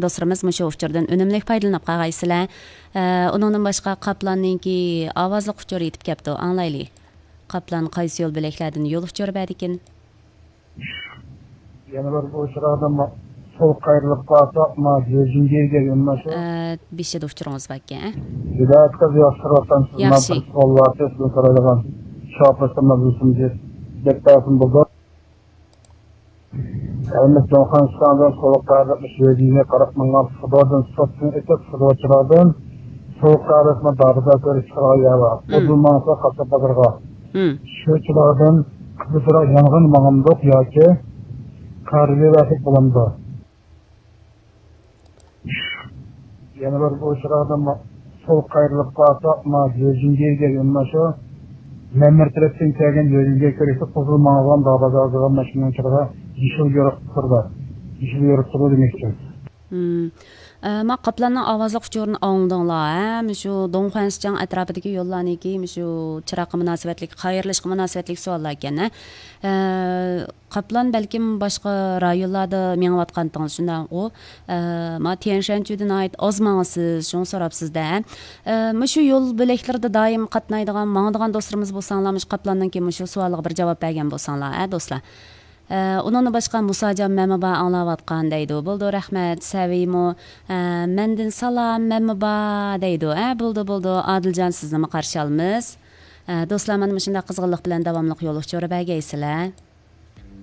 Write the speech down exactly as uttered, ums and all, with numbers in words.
دوستلىرىمىز مۇشۇ ئۇچۇردىن ئۈنۈملۈك پايدىلىنىپ قالغايسىلەر. ئە، ئۇنىڭدىن باشقا قاپلاننىڭكى ئاۋازلىق ئۇچۇرى يېتىپ كەپتۇ، ئاڭلايلى. قاپلان قايسى يول بۆلەكلەردىن يول ئۇچۇرى بەردىكىن؟ يەنە بىر ئۇچراقدا سول قايرىلىپ قالساق، ما جۆجۈنگە كەلگەن ما شۇ. ئە، بېشىدا ئۇچۇرىڭىز باركەن، ئە؟ ۋىلايەتكە ياخشى تۇرۇۋاتقان سىز، ما ياخشى. بىر سوئال بار، سىزدىن سورايدىغان. شۇ ئاپرېشنىڭ مەزمۇنىنى دەپ بەرسىم بولىدۇ. ھەممە جۇڭخۇا شىتاڭدىن سول قايرىلىپ شۆجىگە قاراپ ماڭغان سىخدوردىن سوتتىن ئۆتۈپ، سىخدوچىلاردىن سول قايرىلىپمۇ دابىدا كۆرۈش چىقىرغان يەر بار. مم. ئۇدۇل ماڭسا قاسساپ بازارغا. مم. شۇ چىراغدىن قىزىلچىراغ يانغىن ماڭامدۇق ياكى قارىلىۋەرسەك بولامدۇ؟ يەنە بىر بۇ چىراغدىن سول قايرىلىپ قالساق، ما جۆجۈنگە كەلگەن ما شۇ مەمەر تەرەپتىن كەلگەن جۆجۈنگە كىرىشتە قىزىل ماڭغان دابازا ئازغان ماشىنىنىڭ چىرىغى يېشىل يورۇق تۇرىدۇ. يېشىل يورۇق تۇرىدۇ دېمەكچى. مم. ئە، ما قاپلاننىڭ ئاۋازلىق ئۇچۇرىنى ئاڭلىدىڭلار، ھە؟ مۇشۇ دۇڭخۇەنسىچاڭ ئەتراپىدىكى يوللارنىڭكى مۇشۇ چىراغقا مۇناسىۋەتلىك، قايرىلىشقا مۇناسىۋەتلىك سوئاللار ئىكەن، ھە؟ ئە، قاپلان بەلكىم باشقا رايونلاردا مېڭىۋاتقانتىڭىز، شۇنداققۇ؟ ئە، ما تيەنشەنچۈدە ناھايىتى ئاز ماڭىسىز، شۇڭا سوراپسىز-دە. ئە، مۇشۇ يول بۆلەكلىرىدە دائىم قاتنايدىغان، ماڭىدىغان دوستلىرىمىز بولساڭلار، مۇشۇ قاپلاننىڭكى مۇشۇ سوئالىغا بىر جاۋاب بەرگەن بولساڭلار، ھە، دوستلار؟ ئە، ئۇنىڭدىن باشقا مۇساجان مەمە بار ئاڭلاۋاتقان دەيدۇ. بولىدۇ، رەھمەت. سەۋىيمۇ، ئە، مەندىن سالام، مەمە بار دەيدۇ. ئە، بولىدۇ، بولىدۇ. ئادىلجان، سىزنىمۇ قارشى ئالىمىز. ئە، دوستلار، مانا مۇشۇنداق قىزغىنلىق بىلەن داۋاملىق يول ئۇچۇرى بەرگەيسىلەر.